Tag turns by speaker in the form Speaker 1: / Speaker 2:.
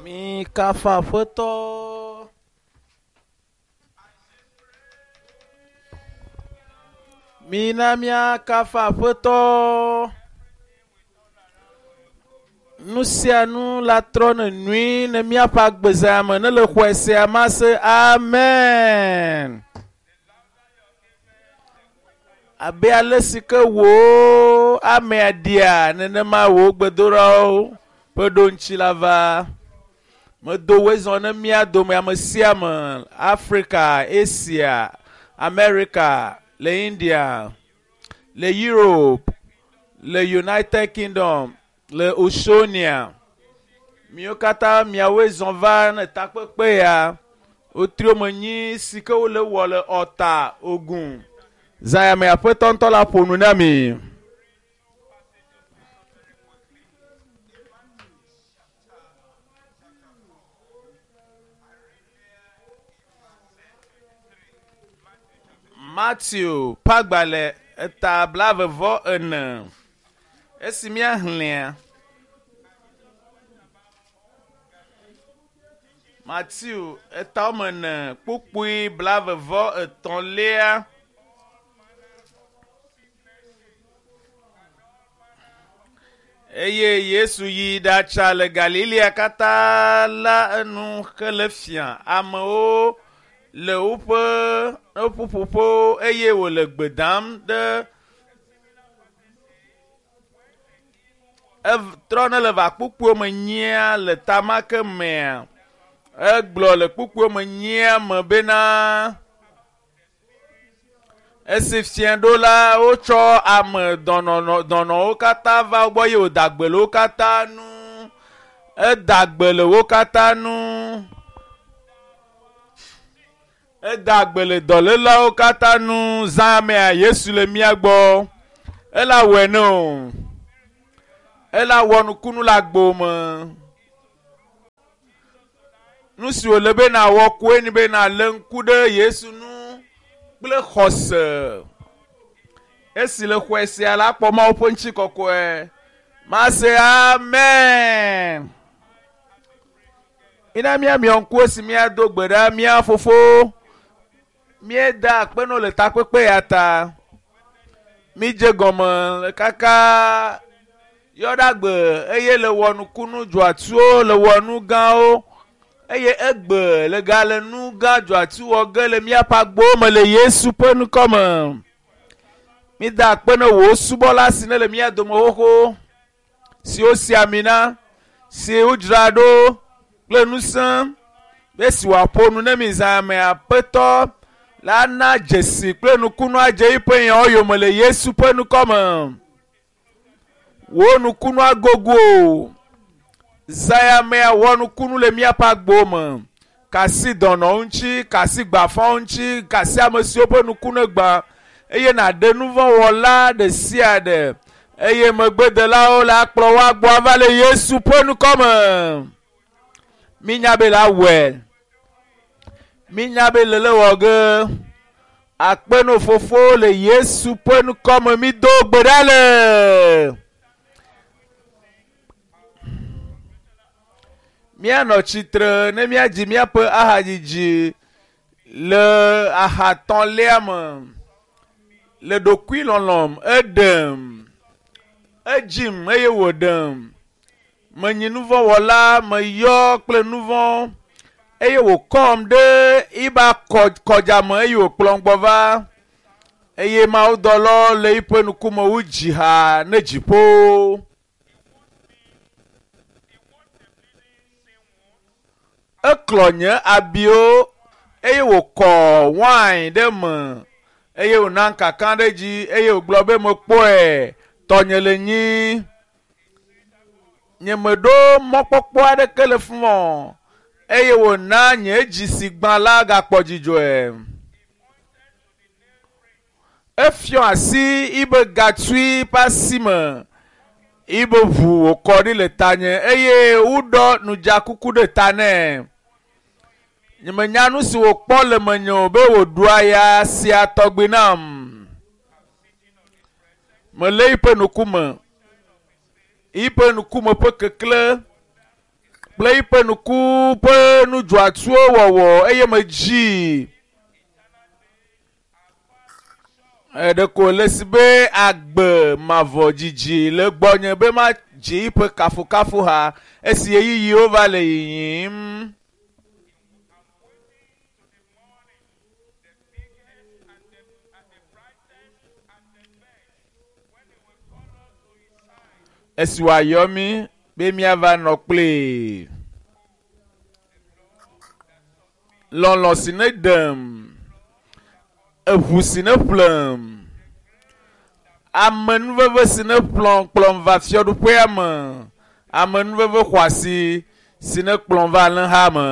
Speaker 1: Mikafa Aƒetɔ. Mina míakafa Aƒetɔ. Nu sia nu la trɔ ne nyui ne míaƒe agbezã me ne le xɔe sia ma se amen. Abe ale si ke wò amea ɖia nenema wò gbedoɖawo ƒe ɖoŋtsi la va. Medo woe zɔ ne mía dome ame sia ame Afrika, Asia, Amerika, le India, le Europe, le United Kingdom, le Oceania. Miwo katã miawoe zɔ va ne takpekpe ya. Wotrio me nyi si ke wole wɔ le Ɔta Ogun. Zã ya me Aƒetɔ ŋutɔ la ƒo nu na mi. Matthew ƒe agbalẽ eta 44. Esi míaxlẽa, Matthew eta woame ene kpukpui 33. Eye Yesu yi ɖatsa le Galilea katã la enu hele fia amewo le woƒe ƒuƒoƒewo eye wòle gbe dam ɖe etrɔ ne le va kpukpuiwo me nyia le ta ma ke mea egblɔ le kpukpuiwo me nyia me bena esi fia ɖo la wotsɔ ame dɔnɔwo katã va wo gbɔ eye wòda gbe le wo katã nu. Eda gbe le wo katã nu. Eda gbe le dɔlélawo katã nu. Zã mea Yesu le mía gbɔ. Ela wɔe ne o. Ela wɔ nukunu le agbo me. Nu si wòle be nàwɔ koe nye be nàlé ŋku ɖe Yesu ŋu kple xɔse. Esi le xɔe sia la kpɔ Mawu ƒe ŋutikɔkɔe. Mase amen. Mina míamiɔ ŋku esi míado gbe ɖa mía fofo. Míeda akpe nɔ le takpekpe ya ta. Mídze gɔme le kaka yɔɖagbe eye le wɔ nukunu dzɔatsuwo le wɔ nu gãwo eye egbe le ga le nu gã dzɔatsu wɔ ge le míaƒe agbowo me le Yesu ƒe ŋkɔme. Mída akpe ne wò subɔla si ne le mía dome xoxo si wosi ami na si wodzra ɖo kple ŋusẽ be si wòaƒo nu ne mi zã me Aƒetɔ la na dzesi kple nukunu adze eƒe nyawo yome le Yesu ƒe ŋkɔme. Wò nukunu agogo o. Zã ya mea wɔ nukunu le míaƒe agbowo me. Kasi dɔnɔwo ŋuti, kasi gbafawo ŋuti, kasi ame siwo ƒe nukunu gbã eye nàɖe nu vɔ̃ wɔla ɖe sia ɖe eye megbedelawo le akplɔ wo agbɔ ava le Yesu ƒe ŋkɔme. Mínya be la wɔe. Mínya be le le wɔ ge. Akpe no fofo le Yesu ƒe ŋkɔme mído gbe ɖa le. Míanɔ tsitre ne míadzi míaƒe ahadzidzi le ahatɔ̃lia me. Le ɖokuilɔlɔ̃m eɖem. Edzim eye wòɖem. Menyi nuvɔ̃wɔla meyɔ kple nuvɔ̃ eye wòkɔm ɖe iba kɔdzame eye wòkplɔm gbɔ va. Eye mawudɔlawo le eƒe ŋkume wu dziha ne dziƒo. Eklɔ nye abiwo eye wòkɔ wain ɖe me eye wòna kaka ɖe dzi eye wògblɔ be mekpɔe tɔnye le nyi. Nyemeɖo mɔkpɔkpɔ aɖeke le fima o eye wòna nye dzi si gbã la gakpɔ dzidzɔe. Efiɔ asi ibe gatsui ƒe asi me ibe ʋu wòkɔ ɖi le tanye eye woɖɔ nudzakuku ɖe ta nɛ. Nyemenya nu si wòkpɔ le menye o be wòɖu aya sia tɔgbi nam. Melé eƒe ŋkume. Eƒe ŋkume ƒe keklẽ. kple yiƒe nuku ƒe nudzɔatsuwo wɔwɔ eye medzi. Ɖeko le si be agbe mavɔ dzidzi le gbɔnye be madzi yiƒe kafukafuha esi ɣeyiɣiwo va le yiyim. Esi wòayɔ mí be míava nɔ kplii. Lɔlɔ̃ si ne ɖem, eʋu si ne ƒlem, amenuveve si ne ƒlɔm kplɔm va fiaɖuƒea me, amenuveve xɔasi si ne kplɔm va alẽha me.